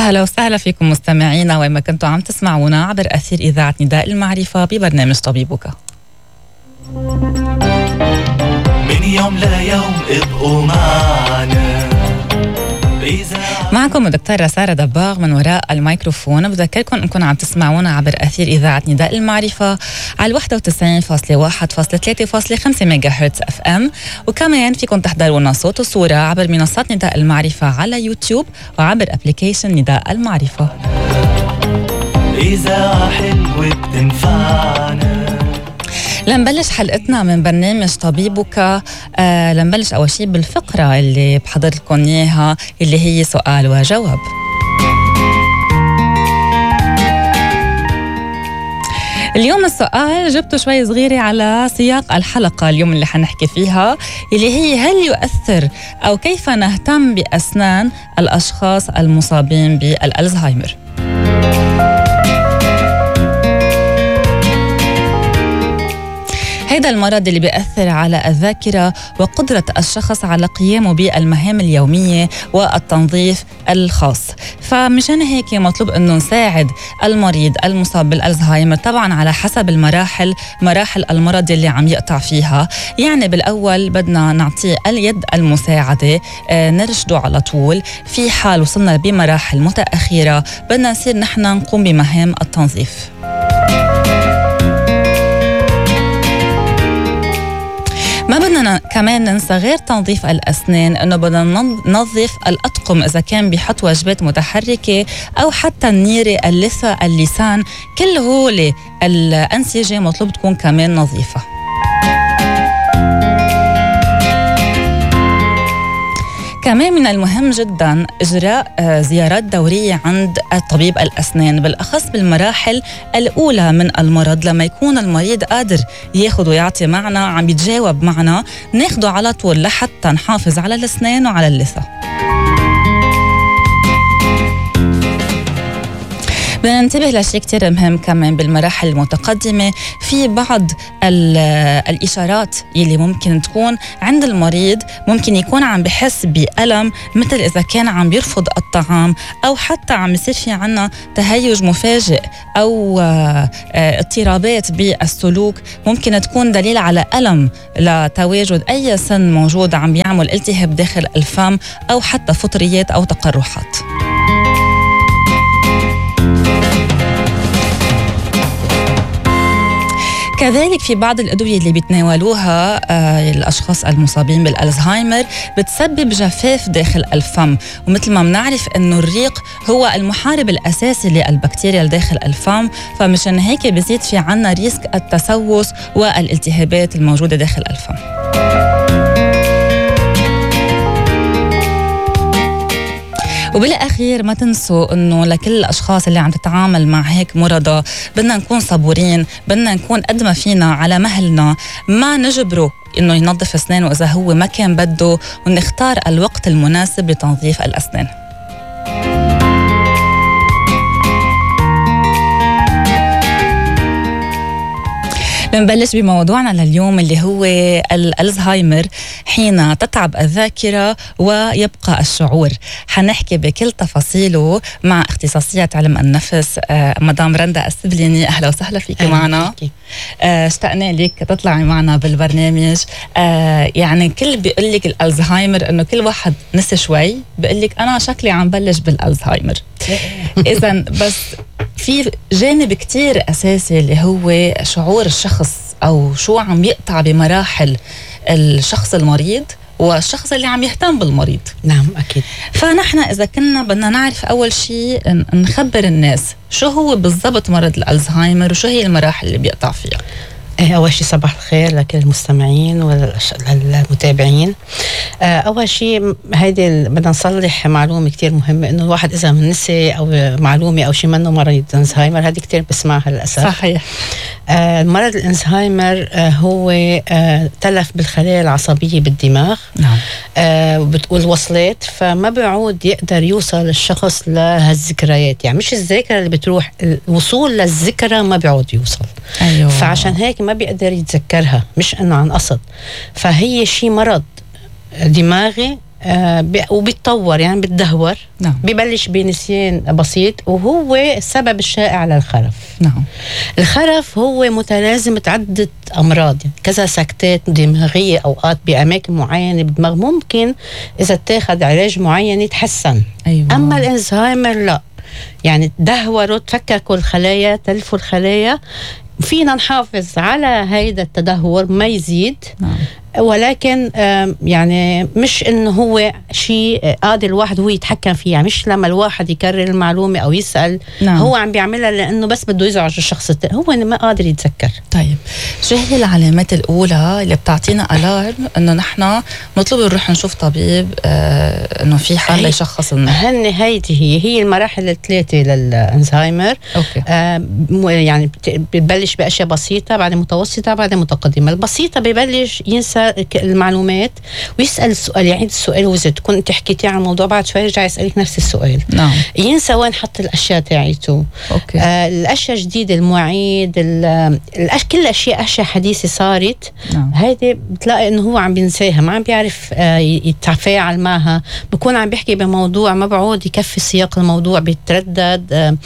أهلا وسهلا فيكم مستمعينا وين ما كنتوا عم تسمعونا عبر أثير إذاعة نداء المعرفة ببرنامج طبيبك. من يوم ليوم ابقوا معنا. معكم الدكتورة سارة دباغ من وراء الميكروفون. بذكركم أنكم عم تسمعونا عبر أثير إذاعة نداء المعرفة على 91.1.3.5 ميجا هرتز FM، وكمان فيكم تحضرونا صوت وصورة عبر منصات نداء المعرفة على يوتيوب وعبر أبليكيشن نداء المعرفة. إذاعة حلوة بتنفعنا. لنبلش حلقتنا من برنامج طبيبك. لنبلش أول شيء بالفقرة اللي بحضر لكم إياها اللي هي سؤال وجواب. اليوم السؤال جبته شوي صغيرة على سياق الحلقة اليوم اللي حنحكي فيها، اللي هي هل يؤثر أو كيف نهتم بأسنان الأشخاص المصابين بالألزهايمر؟ هذا المرض اللي بيأثر على الذاكرة وقدرة الشخص على قيامه بالمهام اليومية والتنظيف الخاص. فمشان هيك مطلوب أنه نساعد المريض المصاب بالألزهايمر طبعا على حسب مراحل المرض اللي عم يقطع فيها. يعني بالأول بدنا نعطيه اليد المساعدة، نرشده على طول. في حال وصلنا بمراحل متأخرة بدنا نصير نحن نقوم بمهام التنظيف. ما بدنا كمان ننسى غير تنظيف الأسنان أنه بدنا ننظف الأطقم إذا كان بيحط وجبات متحركة أو حتى النيرة، اللثة، اللسان، كل هول الأنسجة مطلوب تكون كمان نظيفة. كمان من المهم جدا إجراء زيارات دورية عند طبيب الأسنان، بالأخص بالمراحل الأولى من المرض، لما يكون المريض قادر ياخد ويعطي معنا، عم يتجاوب معنا، ناخده على طول لحتى نحافظ على الأسنان وعلى اللثة. بدنا ننتبه لشيء كتير مهم كمان بالمراحل المتقدمة. في بعض الإشارات اللي ممكن تكون عند المريض، ممكن يكون عم بحس بألم، مثل إذا كان عم بيرفض الطعام أو حتى عم يصير في عنا تهيج مفاجئ أو اضطرابات بالسلوك، ممكن تكون دليل على ألم لتواجد أي سن موجود عم بيعمل التهاب داخل الفم أو حتى فطريات أو تقرحات. كذلك في بعض الأدوية اللي بيتناولوها الأشخاص المصابين بالألزهايمر بتسبب جفاف داخل الفم، ومثل ما بنعرف أنه الريق هو المحارب الأساسي للبكتيريا داخل الفم، فمشان هيك بيزيد في عنا ريسك التسوس والالتهابات الموجودة داخل الفم. وبالأخير ما تنسوا أنه لكل الأشخاص اللي عم تتعامل مع هيك مرضى بدنا نكون صبورين، بدنا نكون قد ما فينا على مهلنا، ما نجبره أنه ينظف أسنانه إذا هو ما كان بده، ونختار الوقت المناسب لتنظيف الأسنان. بنبلش بموضوعنا لليوم اللي هو الألزهايمر حين تتعب الذاكرة ويبقى الشعور. حنحكي بكل تفاصيله مع اختصاصية علم النفس مدام رندا السبليني. أهلا وسهلا فيك معنا. اشتقنا لك تطلعي معنا بالبرنامج. يعني كل بيقول لك الألزهايمر إنه كل واحد نسي شوي بيقول لك أنا شكلي عم بلش بالألزهايمر. إذن بس في جانب كتير أساسي اللي هو شعور الشخص أو شو عم يقطع بمراحل الشخص المريض والشخص اللي عم يهتم بالمريض. نعم أكيد. فنحن إذا كنا بدنا نعرف أول شيء نخبر الناس شو هو بالضبط مرض الألزهايمر وشو هي المراحل اللي بيقطع فيها. أول شيء صباح الخير لكل المستمعين والمتابعين. أول شيء هيدي بدنا نصلح معلومة كتير مهمة، إنه الواحد إذا نسي أو معلومة أو شيء منه مرض الألزهايمر، هذه كتير بسمعها للأسف. صحيح. مرض الألزهايمر هو تلف بالخلايا العصبية بالدماغ. نعم. والوصلات، فما بيعود يقدر يوصل الشخص لهالذكريات، يعني مش الذاكرة اللي بتروح، الوصول للذكرى ما بيعود يوصل. أيوة. فعشان هيك ما بيقدر يتذكرها، مش انه عن قصد. فهي شيء مرض دماغي وبيتطور يعني بتدهور. نعم. ببلش بنسيان بسيط، وهو السبب الشائع للخرف. نعم. الخرف هو متلازمة عدة أمراض، يعني كذا سكتات دماغية أوقات بأماكن معينة بالدماغ، ممكن إذا اتاخد علاج معين يتحسن. أيوة. أما الألزهايمر لا، يعني دهوروا، تفككوا الخلايا، تلفوا الخلايا. فينا نحافظ على هيدا التدهور ما يزيد. نعم. ولكن يعني مش انه هو شيء قادر الواحد هو يتحكم فيه، يعني مش لما الواحد يكرر المعلومة او يسأل. نعم. هو عم بيعملها لانه بس بده يزعج الشخص التاني، هو ما قادر يتذكر. طيب شو هي العلامات الاولى اللي بتعطينا الارم انه نحن مطلوب نروح نشوف طبيب، انه في حال يشخص لنا؟ هيدي هي المراحل الثلاثة للألزهايمر. اوكي. يعني بتبلش باشياء بسيطة، بعدين متوسطة، بعدين متقدمة. البسيطة ببلش ينسى المعلومات ويسأل السؤال، يعيد السؤال، وإذا تكون انت حكيتي عن الموضوع بعد شوي يرجع يسألك نفس السؤال. نعم. ينسى وين حط الأشياء تاعيته. اوكي. الأشياء جديدة، المواعيد، كل الأشياء حديثة صارت. نعم. هيدي بتلاقي إنه هو عم بينساها، ما عم بيعرف يتفاعل معها، بكون عم بيحكي بموضوع ما بعود يكفي سياق الموضوع، بيتردد،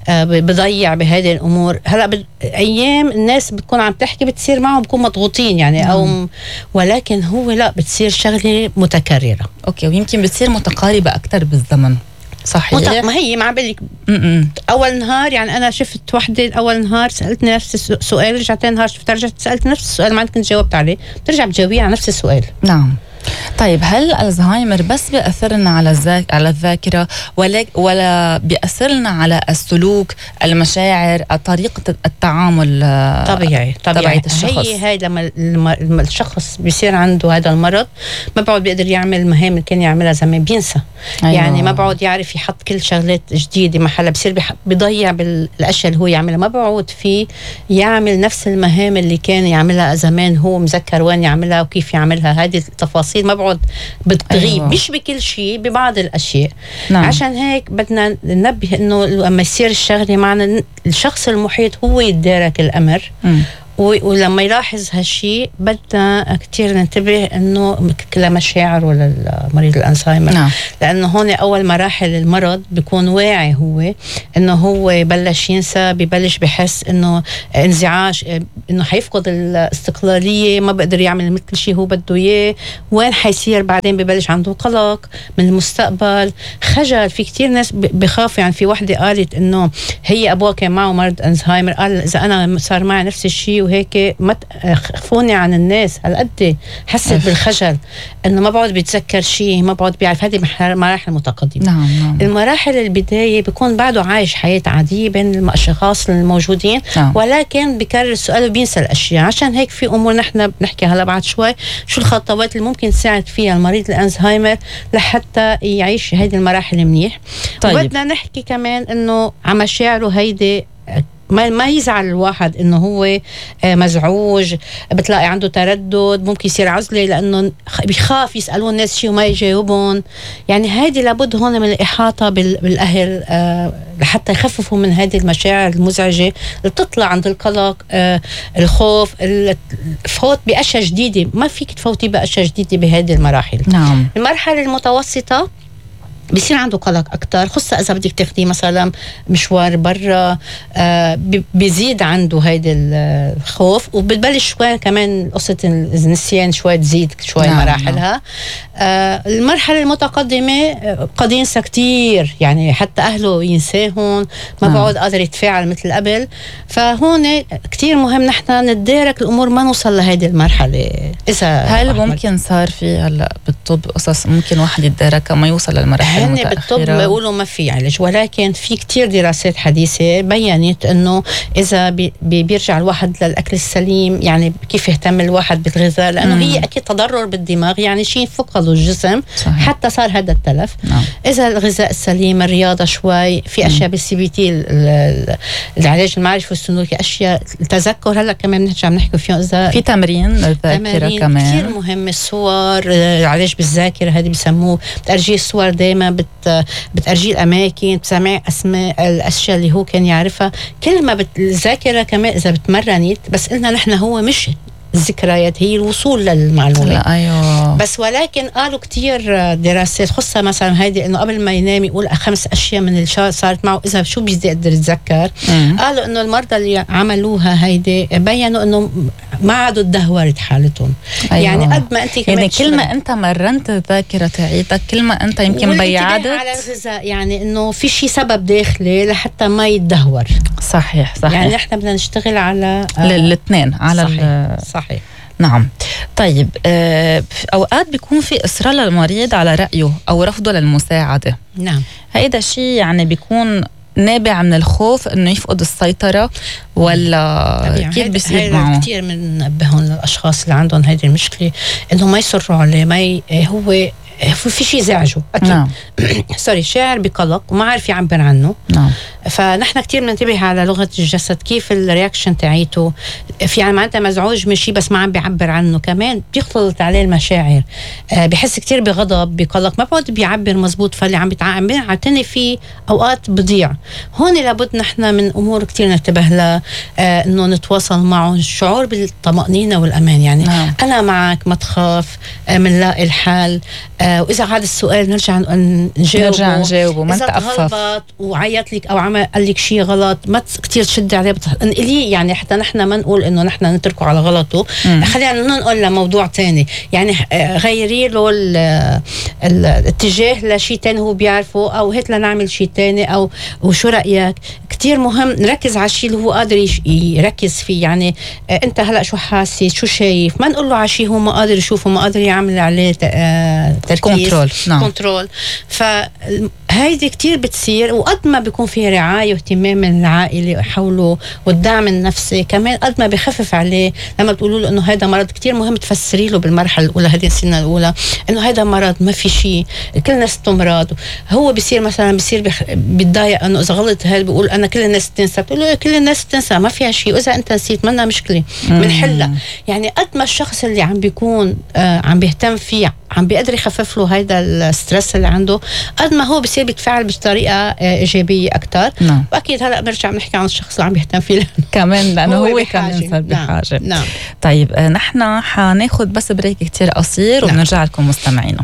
بضيع بهذه الأمور. هلا أيام الناس بتكون عم تحكي بتصير معهم بكون مضغوطين يعني. أو ولكن هو لا، بتصير شغلة متكررة. اوكي. ويمكن بتصير متقاربة أكتر بالزمن. صحيح. ما هي ما عم بقول لك اول نهار، يعني انا شفت وحده اول نهار سالتني نفس السؤال، رجعت ثاني نهار شفتها رجعت سالت نفس السؤال، ما كنت جاوبت عليه، بترجع بتجاوبيه على نفس السؤال. نعم. طيب هل الزهايمر بس بيأثرنا على الذاكرة ولا بيأثرنا على السلوك، المشاعر، طريقة التعامل طبيعي تبعية الشخص؟ هي لما الشخص بيصير عنده هذا المرض ما بعد بيقدر يعمل المهام اللي كان يعملها زمان، بينسى. أيوة. يعني ما بعد يعرف يحط كل شغلات جديدة محلها، بيصير بيضيع بالأشياء اللي هو يعملها، ما بعد فيه يعمل نفس المهام اللي كان يعملها زمان، هو مذكر وين يعملها وكيف يعملها. هذه التفاصيل ما بعد بتغيب. أيوة. مش بكل شيء، ببعض الأشياء. نعم. عشان هيك بدنا ننبه إنه لما يصير الشغلة معنا الشخص المحيط هو يتدارك الأمر. ولما يلاحظ هالشيء بدنا كتير ننتبه انه لمشاعره للمريض الألزهايمر. نعم. لانه هون اول مراحل المرض بيكون واعي هو انه هو بلش ينسى، ببلش بحس انه انزعاج، انه حيفقد الاستقلالية، ما بقدر يعمل مثل كل شيء هو بده اياه. وين حيصير بعدين؟ ببلش عنده قلق من المستقبل، خجل. في كتير ناس بخافوا، يعني في وحدة قالت انه هي ابوها كان معه مرض ألزهايمر، قال اذا انا صار معي نفس الشيء وهيك ما تخفوني عن الناس. هالقد حست بالخجل انه ما بعد بيتذكر شيء، ما بعد بيعرف. هذه مراحل متقدمة. نعم. المراحل البداية بيكون بعده عايش حياة عادية بين الاشخاص الموجودين. نعم. ولكن بكرر السؤال وبينسى الاشياء. عشان هيك في امور نحن بنحكي هلا بعد شوي شو الخطوات اللي ممكن تساعد فيها المريض الألزهايمر لحتى يعيش هذه المراحل منيح. طيب. وبدنا نحكي كمان انه على مشاعره هيدي، ما يزعل الواحد انه هو مزعوج، بتلاقي عنده تردد، ممكن يصير عزلة لانه بيخاف يسألون الناس شيء وما يجاوبون. يعني هيدي لابد هون من الإحاطة بالأهل لحتى يخففوا من هذه المشاعر المزعجة اللي بتطلع عند القلق، الخوف، الفوت بأشياء جديدة. ما فيك تفوتي بأشياء جديدة بهذه المراحل. نعم. المرحلة المتوسطة بيصير عنده قلق أكتر، خصوصا إذا بدك تاخديه مثلا مشوار برا، بيزيد عنده هيدا الخوف، وبتبلش شوي كمان قصة النسيان شوي تزيد شوي. نعم. مراحلها. المرحلة المتقدمة قد ينسى كتير، يعني حتى أهله ينساهم، ما بعود قادر يتفاعل مثل قبل. فهون كتير مهم نحن نتدارك الأمور، ما نوصل لهيدي المرحلة. إذا هل ممكن صار في هلا بالطب قصص ممكن واحد يتدارك ما يوصل للمرحلة هن بالطب بيقولوا ما في علاج، ولكن في كتير دراسات حديثة بيّنت انه اذا بيرجع الواحد للاكل السليم، يعني كيف يهتم الواحد بالغذاء، لانه هي اكيد تضرر بالدماغ، يعني شيء فقده الجسم. صحيح. حتى صار هذا التلف. نعم. اذا الغذاء السليم، الرياضة شوي، في اشياء بالسي تي، العلاج المعرفي والسلوكي، اشياء التذكر هلا كمان بنرجع بنحكي فيهم، اذا في تمرين الذاكرة كمان كتير مهم. الصور، العلاج بالذاكرة هذه بيسموه بتأرجيه الصور، دايما بتأرجيه الأماكن، بتسمع أسماء الأشياء اللي هو كان يعرفها. كل ما الذاكرة كمان إذا بتمرنت، بس قلنا نحن هو مش الذكريات، هي الوصول للمعلومة. لا أيوه. بس ولكن قالوا كتير دراسات خصها مثلا هيدي انه قبل ما ينام يقول 5 اشياء من اللي صارت معه اذا شو بيقدر يتذكر. قالوا انه المرضى اللي عملوها هيدي بينوا انه ما عادوا تدهورت حالتهم. أيوه. يعني قد ما انت يعني كل ما انت مرنت الذاكره تاعيتك كل ما انت يمكن بيعدت على الغذاء، يعني انه في شيء سبب داخلي لحتى ما يتدهور. صحيح. يعني احنا بدنا نشتغل على الاثنين على صحيح. نعم. طيب اوقات بيكون في اصرار للمريض على رايه او رفضه للمساعده. نعم. هيدا شيء يعني بيكون نابع من الخوف انه يفقد السيطره ولا كيف بيصير معه؟ كثير بننبههم للاشخاص اللي عندهم هيدي المشكله انه ما يصروا عليه، ما هو في شيء زعجه اكيد. نعم. سوري، شاعر بقلق وما عارف يعبر عنه. نعم. فنحن كتير بننتبه على لغه الجسد، كيف الرياكشن تاعيته، في يعني معناتها مزعوج من شيء بس ما عم بيعبر عنه، كمان بيختلط عليه المشاعر. بحس كتير بغضب، بقلق، ما بعد بيعبر مزبوط، فاللي عم بيعتني فيه اوقات بضيع. هون لابد نحن من امور كتير ننتبه لها، انه نتواصل معه، الشعور بالطمأنينة والامان. يعني نعم. انا معك، ما تخاف، منلاقي الحل. واذا هذا السؤال نرجع نجاوبه ما نتأفف. وعيط لك او قال لك شيء غلط، ما كتير تشد عليه انقليه، يعني حتى نحن ما نقول انه نحن نتركه على غلطه. خلينا ننقل لموضوع تاني، يعني غيري له الاتجاه لشيء تاني هو بيعرفه، او هيك لنعمل شيء تاني، او وشو رأيك. كتير مهم نركز على الشيء اللي هو قادر يركز فيه. يعني انت هلا شو حاسس، شو شايف، ما نقول له على شيء هو ما قادر يشوفه، ما قادر يعمل عليه تركيز. كنترول. فهيدي كتير بتصير، وقد ما بيكون في رعاية واهتمام من العائلة حوله والدعم النفسي كمان، قد ما بيخفف عليه. لما بتقولوا له انه هذا مرض، كتير مهم تفسري له بالمرحلة الأولى، هذه السنة الأولى، انه هذا مرض، ما في شيء، كل الناس تمرض. هو بيصير مثلا بيتضايق انه اذا غلط هذا بيقول انا كل الناس تنسى، بتقول له كل الناس تنسى، ما فيها شيء، واذا انت نسيت منا مشكلة بنحلها. يعني قد ما الشخص اللي عم بيكون عم بيهتم فيه عم بيقدر يخفف له هيدا الستريس اللي عنده، قد ما هو بيصير بيتفاعل بطريقه ايجابيه اكثر. نعم. واكيد هلا بنرجع بنحكي عن الشخص اللي عم بيهتم فيه كمان، لانه هو كمان صار بحاجه. نعم. طيب نحن حناخذ بس بريك كتير قصير وبنرجع لكم مستمعينا.